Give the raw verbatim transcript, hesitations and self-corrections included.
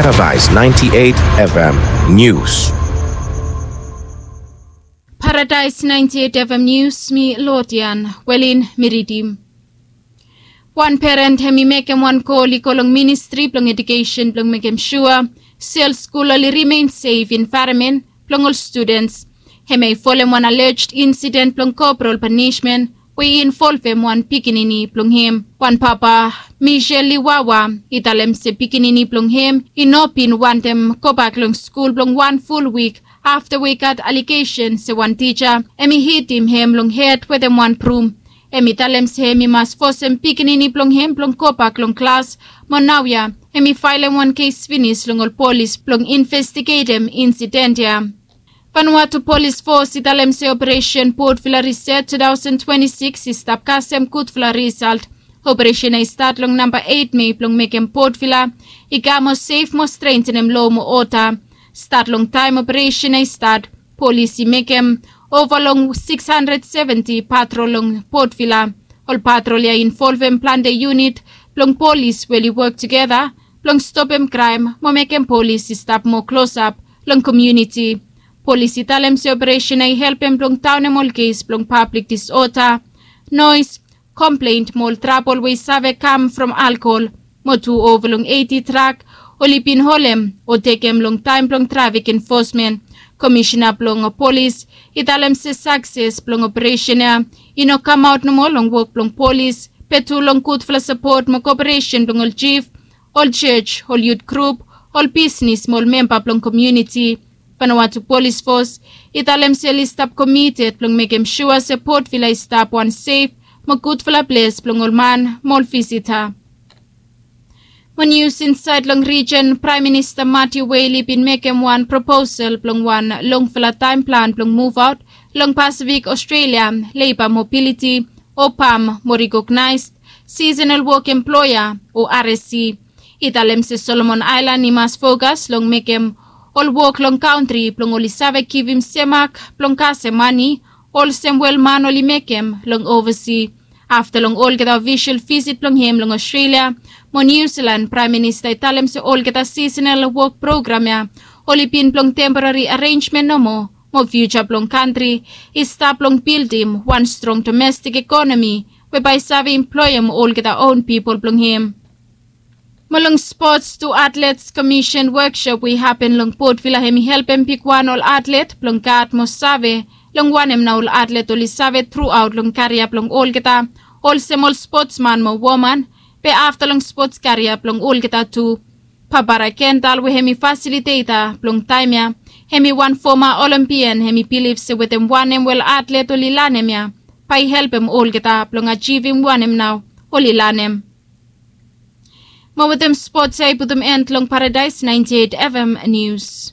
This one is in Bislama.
Paradise ninety-eight F M News. Paradise ninety-eight F M News, mi Lodian Welin mi ridim. Wan peren hem i mekem wan kol i go long ministri blong edukesen blong mekem sua se ol skul oli rimen sef envaeronmen blong ol studens. Hem i folem wan alleged insident blong koprol panishmen we i involvem wan pikinini blong hem. Wan papa, Michel Liwawa, i talem se pikinini blong hem i no bin wantem gobak long skul blong wan ful wik afta we i gat alegesen se wan tija hem i hitim hem long hed wetem wan brum. Hem i talem se hem i mas fosem pikinini blong hem blong gobak long klas. Mo naoia hem i faelem wan kes finis long ol polis blong investigetem insident ya. Vanuatu Polis Fos i talem se operesen Port Vila Riset two thousand twenty-six i stap kasem gudfala risalt. Operesen ya i stat long namba eight Mei blong mekem Port Vila i kam mo sef mo strentenem lo mo oda. Stat long taem operesen ya i stat, polis i mekem ova long six hundred seventy patrol long Port Vila. Ol patrol ya i involvem plante yunit blong polis we oli wok tugeta blong stopem kraem mo mekem polis i stap moa klosap long komuniti. Polis i talem se operesen ya i helpem blong daonem ol kes blong pablik disoda, noes, komplen mo ol trabol we i save kam from alkohol. Mo tu ova long eiti trak oli bin holem o tekem long taem blong trafik enfosmen. Komisena blong polis i talem se sakses blong operesen ya i no kamaot nomo long wok blong polis, be tu long gudfala sapot mo koperesen blong ol jif, ol jos, ol yut grup, ol bisnes mo ol memba blong komuniti. Vanuatu Polis Fos i talem se oli stap komited blong mekem sua se Port Vila i stap wan sef mo gudfala ples blong ol man mo ol visita. Mo nius insaed long rijen, Praem Minista Matthew Whale i bin mekem wan proposal blong wan longfala taem plan blong muvaot long Pasifik Australia Leiba Mobiliti o pam mo rikognaes sisenal wok emploea o R S E. I talem se Solomon Aelan i mas fokas long mekem ol wok long kantri blong oli save givim semak blong kasem mane olsem we ol man oli mekem long ovasi. Afta long olgeta ofisol visit blong hem long Australia mo Niu Silan, Praem Minista i talem se olgeta sisenal wok program ya oli bin blong temporari arenjmen nomo, mo fiuja blong kantri i stap long bildim wan strong domestik ekonomi we bae i save emploem olgeta own pipol blong hem. Mo long spots, tu atlets komisen woksop we i hapen long Port Vila hem i helpem bigwan ol atlet blong gat mo save long wanem nao ol atlet oli save truaot long karia blong olgeta olsem ol spotsman mo woman, be afta long spots karia blong olgeta tu. Barbara Kendall we hem i fasiliteta blong taem ya, hem i wan foma Olimpian, hem i bilif se wetem wanem we ol atlet oli lanem ya bae i helpem olgeta blong ajivim wanem nao oli lanem. Mo wetem spots ya i putum en long Paradise ninety-eight F M News.